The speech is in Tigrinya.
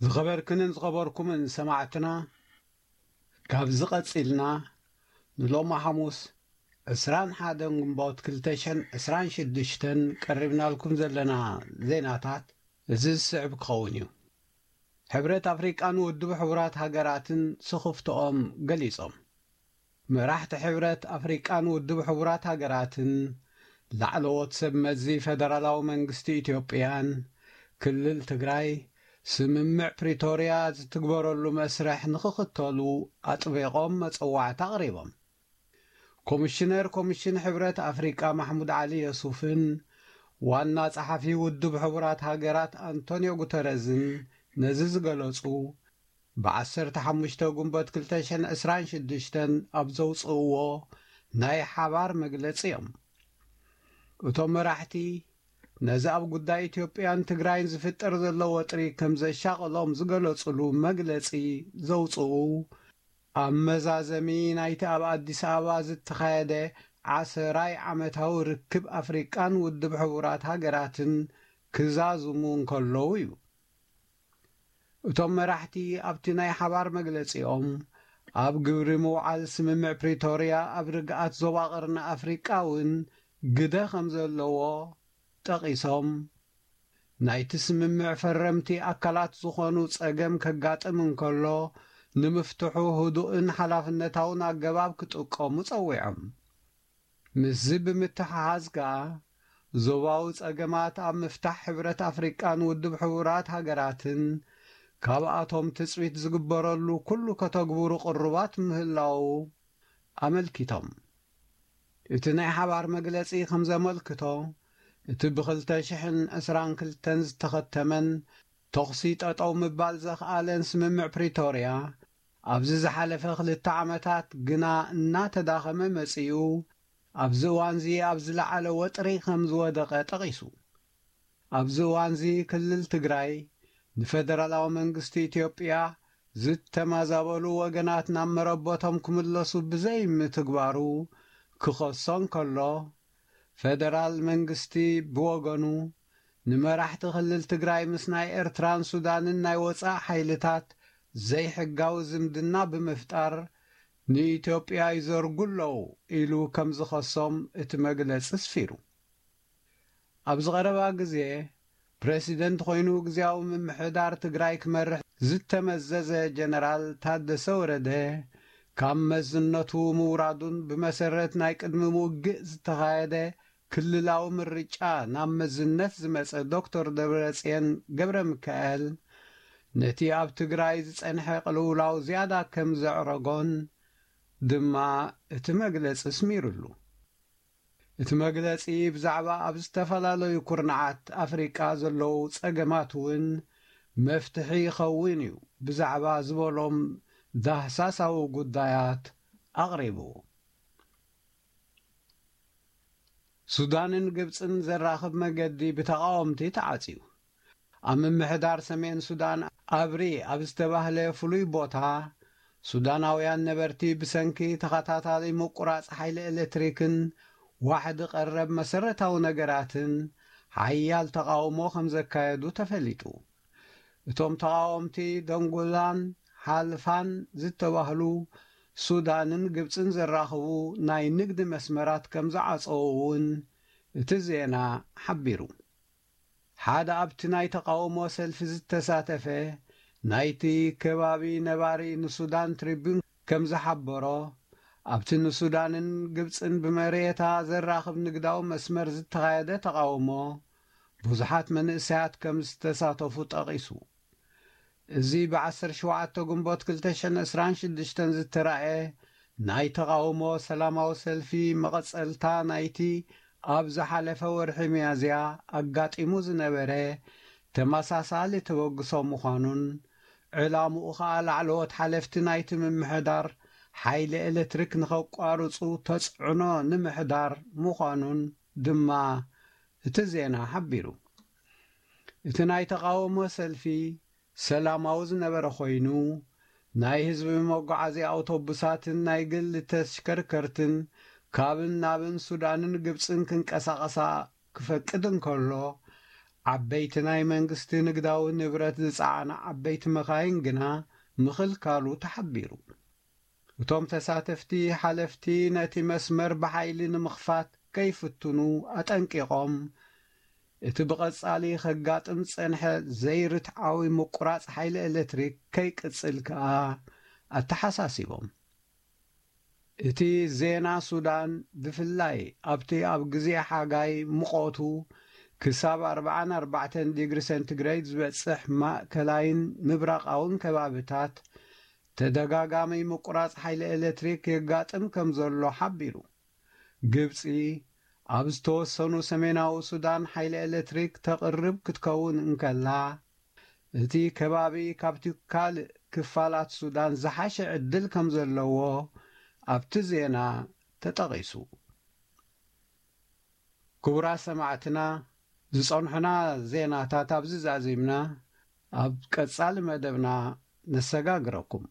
ዝኸበርክንን ዝኸበርኩምን ሰማዕትና፣ ካብዚ ቀጺልና ንሎሚ ሓሙስ ዕስራን ሓደን ግንቦት ክልተ ሽሕን ዕስራን ሽዱሽተን ቀሪብናልኩም ዘለና ዜናታት እዚ ዝስዕብ ክኸውን እዩ። ሕብረት ኣፍሪቃን ውድብ ሕቡራት ሃገራትን ስኽፍትኦም ገሊጾም። መራሕቲ ሕብረት ኣፍሪቃን ውድብ ሕቡራት ሃገራትን ላዕለዎት ሰብ መዚ ፈደራላዊ መንግስቲ ኢትዮጵያን ክልል ትግራይ ስምምዕ ፕሪቶርያ ዝትግበረሉ መስርሕ ንኽኽተሉ ኣጥቢቖም መጸዋዕታ ኣቕሪቦም። ኮሚሽነር ኮሚሽን ሕብረት ኣፍሪቃ ማሕሙድ ዓሊ የሱፍን ዋና ጸሓፊ ውድብ ሕቡራት ሃገራት ኣንቶንዮ ጉተረዝን ነዚ ዝገለጹ፣ ብ ዓሰርተ ሓሙሽተ ግንቦት ክልተ ሽሕን ዕስራን ሽዱሽተን ኣብ ዘውጽእዎ ናይ ሓባር መግለጺ እዮም። እቶም መራሕቲ ነዚ ኣብ ጉዳይ ኢትዮጵያን ትግራይን ዝፍጠር ዘሎ ወጥሪ ከም ዘሻቐሎም ዝገለጹሉ መግለጺ ዘውጽኡ፣ ኣብ መዛዘሚ ናይቲ ኣብ ኣዲስ ኣበባ ዝተኻየደ ዓሰራይ ዓመታዊ ርክብ ኣፍሪቃን ውድብ ሕቡራት ሃገራትን ክዛዝሙ እንከለዉ እዩ። እቶም መራሕቲ ኣብቲ ናይ ሓባር መግለጺኦም፣ ኣብ ግብሪ ምውዓል ስምምዕ ፕሪቶርያ ኣብ ርግኣት ዞባ ቀርኒ ኣፍሪቃ እውን ግደ ከም ዘለዎ ጠቒሶም፣ ናይቲ ስምምዕ ፈረምቲ ኣካላት ዝኾኑ ጸገም ከጋጥም እንከሎ፣ ንምፍትሑ ህዱእን ሓላፍነታውን ኣገባብ ክጥቀሙ ጸዊዖም። ምስዚ ብምትሕሓዝ ከኣ፣ ዞባዊ ጸገማት ኣብ ምፍታሕ ሕብረት ኣፍሪቃን ውድብ ሕቡራት ሃገራትን ካብኣቶም ትጽቢት ዝግበረሉ ኩሉ ከተግብሩ ቅሩባት ምህላዉ ኣመልኪቶም። እቲ ናይ ሓባር መግለጺ ከም ዘመልክቶ፣ እቲ ብ ክልተ ሽሕን ዕስራን ክልተን ዝተኸተመን ተኹሲ ጠጠው ምባል ዘኽኣለን ስምምዕ ፕሪቶርያ፣ ኣብዚ ዝሓለፈ ክልተ ዓመታት ግና እናተዳኸመ መጺኡ፣ ኣብዚ እዋንዚ ኣብ ዝለዓለ ወጥሪ ከም ዝወደቐ ጠቒሱ። ኣብዚ እዋንዚ ክልል ትግራይ ንፈደራላዊ መንግስቲ ኢትዮጵያ ዝተማዛበሉ ወገናት ናብ መረበቶም ክምለሱ ብዘይምትግባሩ ክኸሶ እንከሎ፣ ፈደራል መንግስቲ ብወገኑ ንመራሕቲ ክልል ትግራይ ምስ ናይ ኤርትራን ሱዳንን ናይ ወጻኢ ሓይልታት ዘይሕጋዊ ዝምድና ብምፍጣር ንኢትዮጵያ ይዘርጉ ኣለዉ ኢሉ ከም ዝኸሶም እቲ መግለጺ ኣስፊሩ። ኣብዚ ቀረባ ግዜ ፕረሲደንት ኮይኑ ግዝያዊ ምምሕዳር ትግራይ ክመርሕ ዝተመዘዘ ጀነራል ታደሰ ወረደ፣ ካብ መዝነቱ ምውራዱን ብመሰረት ናይ ቅድሚ ውግእ ዝተኻየደ ክልላዊ ምርጫ ናብ መዝነት ዝመጸ ዶክተር ደብረጽዮን ገብረ ሚካኤል፣ ነቲ ኣብ ትግራይ ዝጸንሐ ቅልውላው ዝያዳ ከም ዘዕረጎን ድማ እቲ መግለጺ ኣስሚሩሉ። እቲ መግለጺ ብዛዕባ ኣብ ዝተፈላለዩ ኩርናዓት ኣፍሪቃ ዘለዉ ጸገማት እውን መፍትሒ ይኸውን እዩ ብዛዕባ ዝበሎም ዳህሳሳዊ ጉዳያት ኣቕሪቡ። ሱዳንን ግብጽን ዘራኽብ መገዲ ብተቓወምቲ ተዓጽዩ። ኣብ ምምሕዳር ሰሜን ሱዳን ኣብሪ ኣብ ዝተባህለ ፍሉይ ቦታ፣ ሱዳናውያን ነበርቲ ብሰንኪ ተኸታታሊ ምቁራጽ ሓይሊ ኤሌክትሪክን ዋሕዲ ቀረብ መሰረታዊ ነገራትን ሓያል ተቓውሞ ከም ዘካየዱ ተፈሊጡ። እቶም ተቓወምቲ ደንጉላን ሓልፋን ዝተባህሉ ሱዳንን ግብጽን ዘራኽቡ ናይ ንግዲ መስመራት ከም ዝዓጸዉ እውን እቲ ዜና ሓቢሩ። ሓደ ኣብቲ ናይ ተቓውሞ ሰልፊ ዝተሳተፈ ናይቲ ከባቢ ነባሪ ንሱዳን ትሪቡን ከም ዝሓበሮ፣ ኣብቲ ንሱዳንን ግብጽን ብመሬታ ዘራኽብ ንግዳዊ መስመር ዝተኻየደ ተቓውሞ ብዙሓት መንእሰያት ከም ዝተሳተፉ ጠቒሱ። እዚ ብ ዓሰርተ ሸውዓተ ግንቦት ክልተ ሽሕን ዕስራን ሽዱሽተን ዝተራእየ ናይ ተቓውሞ ሰላማዊ ሰልፊ መቐጸልታ ናይቲ ኣብ ዝሓለፈ ወርሒ ሚያዝያ ኣጋጢሙ ዝነበረ ተመሳሳሊ ተበግሶ ምዃኑን፣ ዕላምኡ ኸኣ ላዕለዎት ሓለፍቲ ናይቲ ምምሕዳር ሓይሊ ኤሌክትሪክ ንኸቋርጹ ተጽዕኖ ንምሕዳር ምዃኑን ድማ እቲ ዜና ሓቢሩ። እቲ ናይ ተቓውሞ ሰልፊ ሰላማዊ ዝነበረ ኮይኑ፣ ናይ ህዝቢ መጓዓዝያ ኣውቶቡሳትን ናይ ግሊ ተሽከርከርትን ካብን ናብን ሱዳንን ግብጽን ክንቀሳቐሳ ክፈቅድ እንከሎ፣ ዓበይቲ ናይ መንግስቲ ንግዳዊ ንብረት ዝጸዓና ዓበይቲ መኻይን ግና ምኽልካሉ ተሓቢሩ። እቶም ተሳተፍቲ ሓለፍቲ ነቲ መስመር ብሓይሊ ንምኽፋት ከይፍትኑ ኣጠንቂቖም፣ እቲ ብቐጻሊ ከጋጥም ዝጸንሐ ዘይርትዓዊ ምቁራጽ ሓይሊ ኤሌክትሪክ ከይቅጽል ከኣ ኣተሓሳሲቦም። እቲ ዜና ሱዳን ብፍላይ ኣብቲ ኣብ ግዜ ሓጋይ ሙቐቱ ክሳብ ኣርባዓን ኣርባዕተን ዲግሪ ሴንቲግሬድ ዝበጽሕ ማእከላይን ምብራቓውን ከባብታት ተደጋጋሚ ምቁራጽ ሓይሊ ኤሌክትሪክ የጋጥም ከም ዘሎ ሓቢሩ። ግብጺ ኣብ ዝተወሰኑ ሰሜናዊ ሱዳን ሓይሊ ኤሌክትሪክ ተቕርብ ክትከውን እንከላ፣ እቲ ከባቢ ካብቲ ካልእ ክፋላት ሱዳን ዝሓሸ ዕድል ከም ዘለዎ ኣብቲ ዜና ተጠቒሱ። ክቡራት ሰማዕትና፣ ዝጸንሑና ዜናታት ኣብዚ ዛዚምና፣ ኣብ ቀጻሊ መደብና ነሰጋግረኩም።